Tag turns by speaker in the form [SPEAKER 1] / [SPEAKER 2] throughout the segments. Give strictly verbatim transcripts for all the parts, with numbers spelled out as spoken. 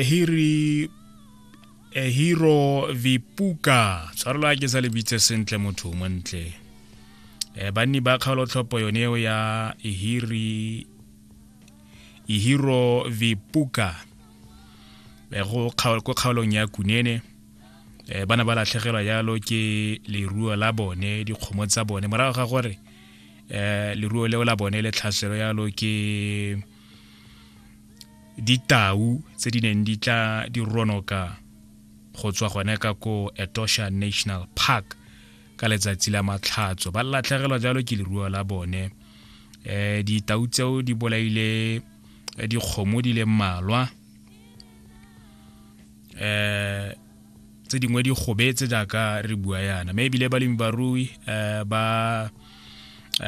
[SPEAKER 1] Hiri Hiro Vipuka, tshwarelo a ke sa le bitse sentle, motho montle. um banni ba kgaolotlhopho yone eo ya Ihiri Ihiro Vipuka go ko kgaolong ya Kunene, um bana ba latlhegelwa jalo ke leruo la bone, dikgomo tsa bone, morago ga gore um leruo leo la bone le tlhaselo jalo ke ditau tse di neng di tla di ronoka go tswa gone ka ko Etosha National Park ka letsatsi la Matlhatso. Ba latlhegelwa jalo ke leruo la bone. um ditau tseo di bolaile dikgomo di le mmalwa, um tse dingwe di gobetse jaaka re bua yana, mme ebile balemi barui um ba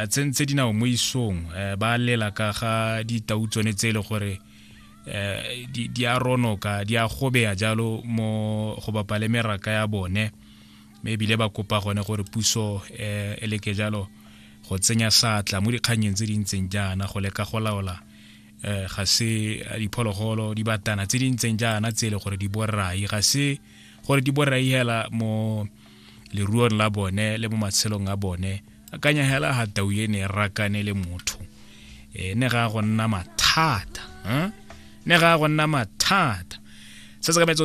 [SPEAKER 1] tsentse dinao mo isong, ba lela ka ga ditau tsone tse e le gore um di a ronoka, di a gobeya jalo mo go bapa le meraka ya bone, mme ebile ba kopa gone gore puso um e leke jalo go tsenya satla mo dikganyeng tse di ntseng jaana go leka go laola um ga se diphologolo, dibatana tse di ntseng jaana tse e le gore di borai, ga se gore di borai hela mo leruong la bone le mo matshelong a bone. Akanya hela ga tau e ne e rakane le motho, e ne ga go nna mathata, ne ga go nna mathata. Se se ka metsotso.